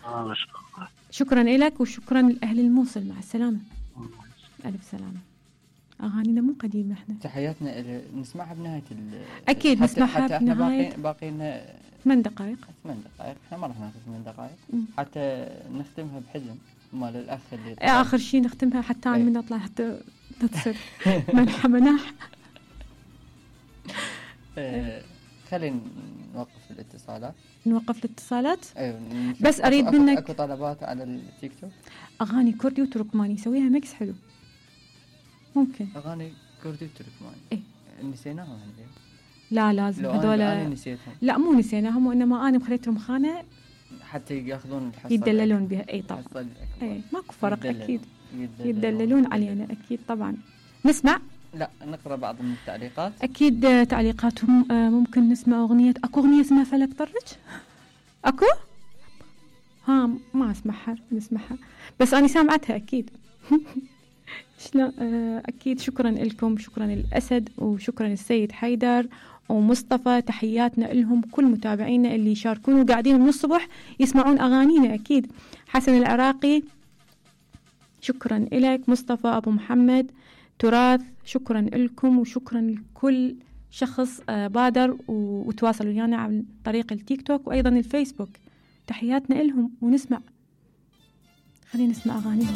ما شاء الله. شكرا لك وشكرا لأهل الموصل. مع السلامة. ألف سلامة. أغانينا مو قديمة احنا. تحياتنا نسمعها بنهاية أكيد نسمعها بنهاية. احنا باقينا 8 دقائق. 8 دقائق، احنا ما راح ناخذ 8 دقائق حتى نختمها بحزن مال الأخ اللي آخر شيء نختمها حتى أنا من أطلع حتى تصير منحة مناح. خلينا نوقف الاتصالات. نوقف الاتصالات. ايوه بس أريد منك اكو طلبات على التيك توك. أغاني كردي وتركماني سويها ميكس حلو. ممكن أغاني كردي وتركماني. إيه نسيناهم هندي. لا لازم هذول. أنا نسيتهم. لا مو نسيناهم، وإنما أنا مخليتهم خانة حتى ياخذون الحصة يدللون بها. أي طبعا. أي ماكو فرق أكيد. يدللون علينا أكيد طبعا. نسمع. لا نقرأ بعض من التعليقات. أكيد تعليقاتهم. ممكن نسمع أغنية. أكو أغنية اسمها فلك طرج. أكو ما أسمعها. نسمعها بس أنا سامعتها أكيد. شلون. أكيد شكرا لكم. شكرا للأسد وشكرا للسيد حيدر ومصطفى. تحياتنا لهم كل متابعينا اللي يشاركون وقاعدين من الصبح يسمعون أغانينا. أكيد حسن العراقي شكرا لك. مصطفى أبو محمد تراث شكرا لكم وشكرا لكل شخص بادر وتواصلوا ويانا عن طريق التيك توك وأيضا الفيسبوك. تحياتنا لهم. ونسمع. خلينا نسمع أغانيهم.